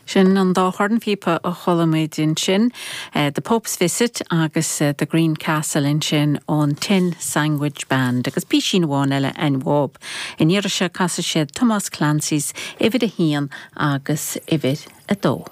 Sin an dá chornphíopa a chuala muid ansin, The Pope's Visit agus The Green Castle ansin ón Tin Sandwich Band agus písín amháin eile a'inn uathub. An iarraidh seo casfaidh siad Tomás Clancy's Uimhir a hAon agus Uimhir a Dó.